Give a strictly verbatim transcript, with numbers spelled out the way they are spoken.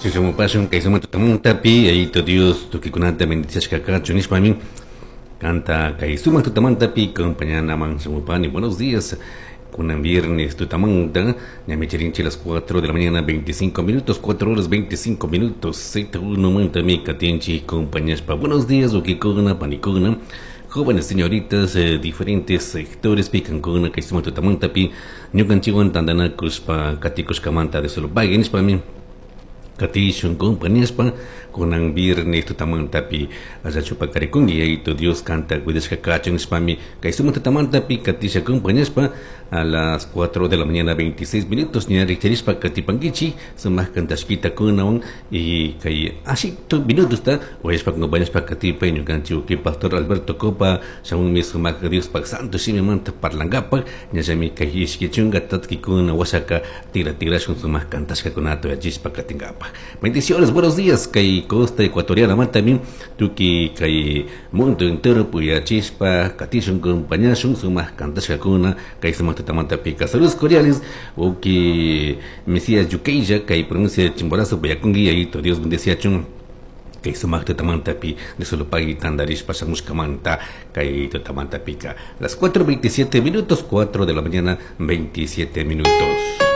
Shamupashun kay sumak tutamantapi Yayito Dios tukuykunata bendiciashka kachun nishpami kanta kay sumak tutamantapi acompañanaman shamupani. Buenos días. Kunan viernes tutamanta, ñami charinchik las cuatro de la mañana veinticinco minutos, cuatro horas veinticinco minutos, Z uno mantami katinchik compañashpa. Buenos días, wawkikuna, panikuna, jóvenes señoritas, eh, diferentes sectores pikankuna kay sumak tutamantapi ñukanchikwan tantanakushpa katikushkamanta de solo pagui nishpami katishun compañashpa kunan viernes tutamantapi allachu paqarikunki Yayito Dios kanta cuidashka kachun nishpami kay sumak tutamantapi katisha compañashpa a las cuatro de la mañana veintiséis minutos ña rikcharishpa katipankichik sumak kantashkita kunawan y kay ashito minutosta uyashpa compañashpa katipay ñukanchik uki pastor Alberto Copa shamunmi sumak Diospak santo shimimanta parlankapak ñallami kay ishki chunka tatkikuna washaka tira tirashun sumak kantashkakunata uyachishpa katinkapak. Bendiciones, buenos días, kay costa ecuatoriana mantami tuki kay mundo entero puyachishpa katishun compañashun sumak kantashkakuna kay sumak tutamantapika. Saludos cordiales, uki Mesías Yukeya kay provincia de Chimborazo puyakunki Yayito Dios bendeciachun kay sumak tutamantapi de solo pagui tandarishpa shamushkamanta kay tutamantapika. Las cuatro veintisiete minutos, cuatro de la mañana veintisiete minutos.